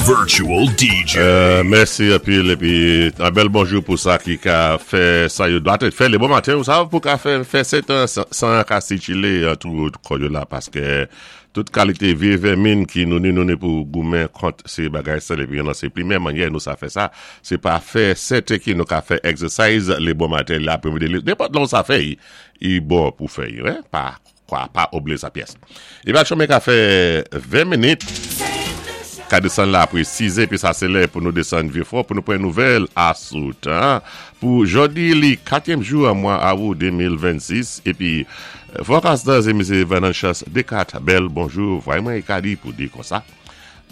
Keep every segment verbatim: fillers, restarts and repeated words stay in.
Virtual D J. Euh, mèsi épi épi yon bèl bonjou pou sa ki ka fè sa yo dwa fè lé bon maten ou sa pou ka fè fè sèt san, san ka sikilé tou kò yo la paské tout kalité vyé vèminn ki nou ni nou ni pou goumen kont sé bagay sa épi nan sé pli menm mannyè nou sa fè sa sé pa fè sèten ki nou ka fè exercise lé bon maten lapré-midi nenpòt lè sa fè i bon pou fè hein, pa kwa pa oubliyé sa pyès. Épi chonmen ka fè ven minit ka désann la apwé sis épi sa sé lè pou nou désann Vyé-Fò pou nou pran nouvèl asou tan pou jòdi li katyèm jou an mwa awou de mil vennsis épi forecast sé Misye Venantius Descartes. Bèl bonjou, vway mwen ka di pou di kon sa.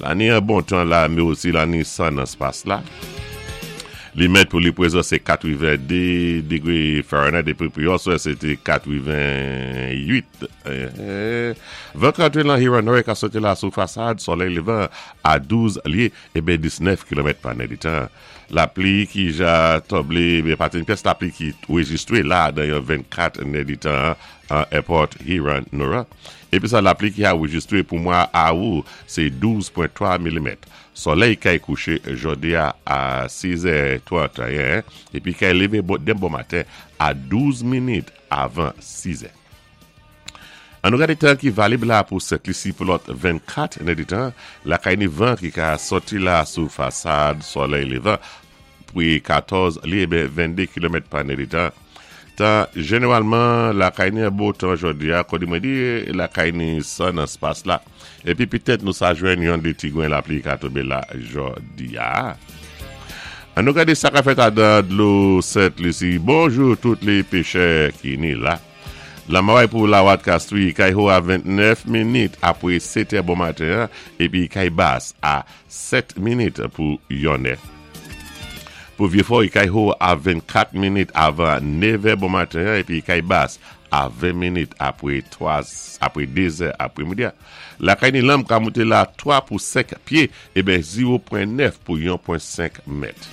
La ni yon bon tan la, mé osi la ni san nan spas la. Li mèt pou li pwézan sé katwenn-dé dégwé Fahrenheit épi pou yon swè sété katwenn-uit. Van kanté lan Huron ka soti la sou fasad solèy lévan a douz lyé ébyen diznèf kilomèt pa nèditan. Lapli ki ja tonblé, ben pa ni pyès lapli ki wéjistwé la dan yon vennkat nèditan an Airport Huron Nora. Épi sa lapli ki a wéjistwé pou mwa awou, sé douz pwen twa milimèt. Solèy kay kouché jòdi a a sis è tranteyen épi kay lévé bon, den bon maten a douz minit avan sis è. An nou gadé tan ki valib la pou Sent Lisi pou lòt vennkat nèditan, lakay ni van ki ka soti la sou fasad solèy lévan pou katòz lyé ben venndé kilomèt pa nèditan. Tan jénéwalman lakay ni yon bo tan jòdi a, kòdi mwen di lakay ni san nan spas la. Épi pitèt nou sa jwenn yon dé ti gwen lapli ka tonbé la jòdi a. An nou gadé sa ka fèt adan dlo Sent Lisi. Bonjou tout lé péchè ki ni la. Lanmè pou Lawat Castries, kay ho a vennèf minit apwé sèt bon maten, épi kay bas a sèt minit pou yon è. Pou Vyé-Fò, kay ho a vennkat minit avan nèv bon maten, épi kay bas a ven minit apwé twa, apwé dé zè apwé-midi. Lakay ni lanm ka monté la twa pou senk pyé, ébyen zewo pwen nèf pou yon pwen senk mèt.